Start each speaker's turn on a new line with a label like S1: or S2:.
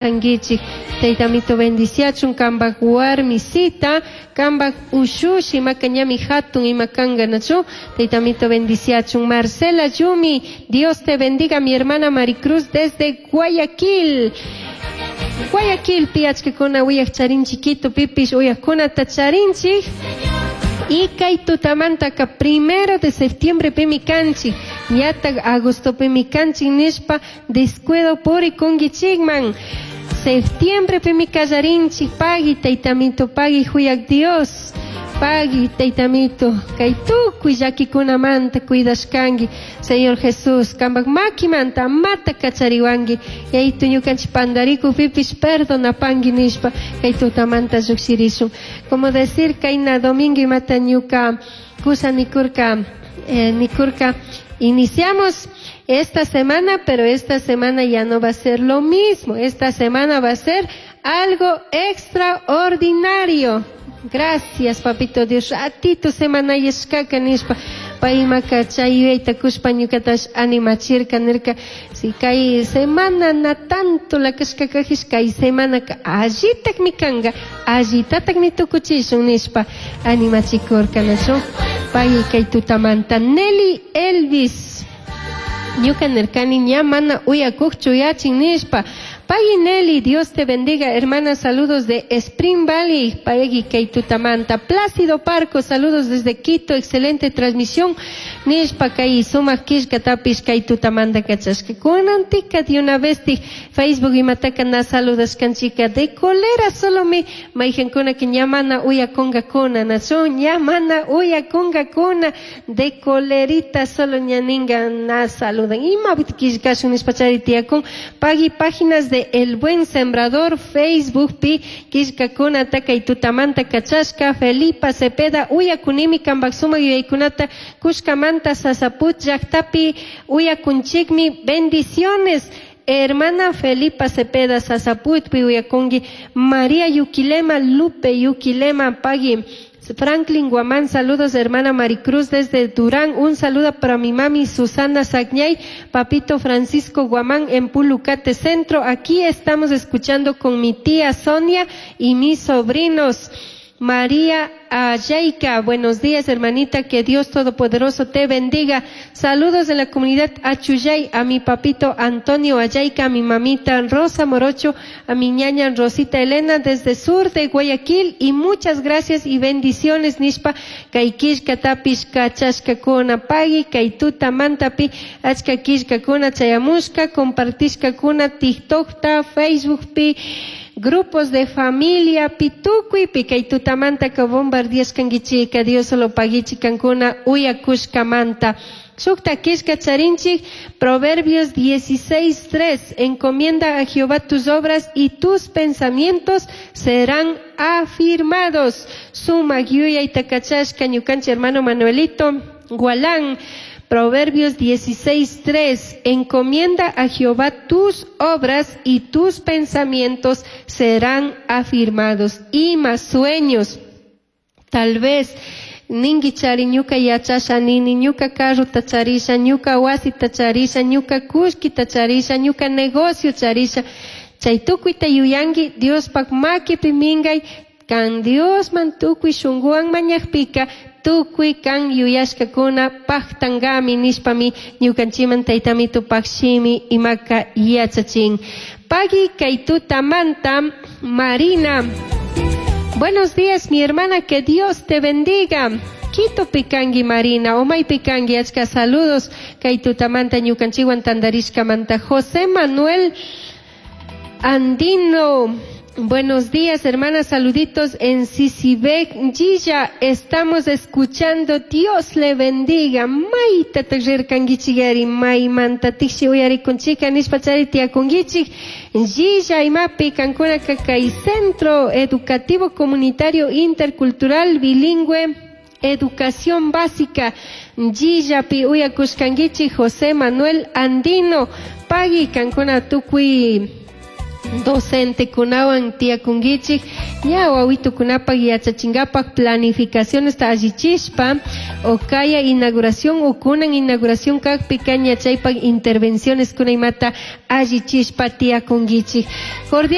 S1: Anguichik taytamito bendiciachun kambak warmisita kambak ushushi maka ñami hatun ima kanka nachu taytamito bendiciachun. Marcela Yumi, Dios te bendiga, mi hermana Maricruz desde Guayaquil. Guayaquilpi achkakuna uyaq charinchik, Quitopipish uyaqkunata charinchik. Y kay tutamantaka 1 de septiembre pimi kanchik, ñatak agosto pimi kanchik nishpa descuido purikunkichikman. Septiembre pimi kallarinchik, pagui taytamito, pagui huyak Dios, pagui taytamito, kay tukuy llakikunamanta cuidashkanki, Señor Jesús, kambak makimanta amata kachariwanki, yaytu ñukanchik pandarikukpipish perdonapanki nishpa kay tutamanta llukshirishun. Como decir kayna domingo imata ñuka kusa nikurka, iniciamos esta semana, pero esta semana ya no va a ser lo mismo. Esta semana va a ser algo extraordinario. Gracias, papito Dios. Ratito semana yashkaka nishpa paymaka chay yuyayta kushpa ñukatash animachirka nirka. Si kay semana na tanto la kashkakajish, kay semanaka allitakmi kanka, allitatakmi tukuchishun nishpa animachikurka nachu. Pay kay tutamanta. Nelly Elvis. Ñuka nirkani ña mana uyakukchu yachin nishpa. Pagui Nelly, Dios te bendiga, hermana, saludos de Spring Valley, pagui kay tutamanta. Plácido Parco, saludos desde Quito, excelente transmisión. Nishpa kay sumak killkatapish kay tutamanta kachashka. Kunantika de una vez ti Facebook imataka na saludas kanchika de colera solo mi maijankuna que ña mana uyakunkakuna, nachu ña mana uyakunkakuna de colerita solo ñaninga na saludan. Ima killkashun nishpa chari tiyakun. Pagui páginas de El Buen Sembrador, Facebook pi killkakuna kay tutamanta kachashka. Felipa Cepeda uyakunimi kambak sumak yuyaykunata kushkamanta Sasaput llaktapi uyakunchikmi. Bendiciones. Hermana Felipa Cepeda Sasaputpi uyakunki. María Yuquilema, Lupe Yuquilema, pagui. Franklin Guamán, saludos hermana Maricruz desde Durán, un saludo para mi mami Susana Sagñay, papito Francisco Guamán en Pulucate Centro, aquí estamos escuchando con mi tía Sonia y mis sobrinos. María Ayayka, buenos días hermanita, que Dios Todopoderoso te bendiga. Saludos de la comunidad Achuyay, a mi papito Antonio Ayayka, a mi mamita Rosa Morocho, a mi ñaña Rosita Elena desde sur de Guayaquil, y muchas gracias y bendiciones nishpa kay killkatapish kachashkakuna pagui kay tuta mantapi achka killkakuna chayamushka compartishkakuna TikTokta, Facebookpi, grupos de familia, pitukuipi, kay tutamanta ka bombardiashkankichika, Dios solo paguichikankuna uyakushkamanta. Shukta killka charinchik, Proverbios 16:3, encomienda a Jehová tus obras y tus pensamientos serán afirmados. Suma yuyay takachashka ñukanchik hermano Manuelito Gualán. Proverbios 16:3, encomienda a Jehová tus obras y tus pensamientos serán afirmados. Y más sueños, tal vez ningi chari ñuka yachasha nini, ñuka carro tacharisha, ñuka wasi tacharisha, ñuka kushki tacharisha, ñuka negocio charisha. Chay tukuyta yuyanki Diospak makipi mingay, kan Dios man tukuy shunguwan mañakpika, tukuy kan yuyashkakuna paktangami nishpami ñukanchiman taytami tupak shimi imaka yachachin. Pagui kay tutamanta Marina. Buenos días, mi hermana, que Dios te bendiga. Quito pikangi Marina, omay pikangi, achka saludos kay tutamanta ñukanchiwan tandarishkamanta. José Manuel Andino. Buenos días, hermanas, saluditos en Sisibek, Gilla, estamos escuchando, Dios le bendiga. Maita taxirkanguichigari, maymanta tixi uyarikunchika, nishpa chari tiakunguichik. Gilla imapi kankuna kakay Centro Educativo Comunitario Intercultural Bilingüe, Educación Básica, Gillapi uyakushkanguichik, José Manuel Andino, pagui kankuna tukuy docente kunawan tiakunguichik, Ña wawitukunapak yachachinkapak planificacionesta allichishpa o kaya inauguración o kunan inauguración kakpika ña chaypak intervenciones kuna imata allichishpa tiyakunkichik. Cordial.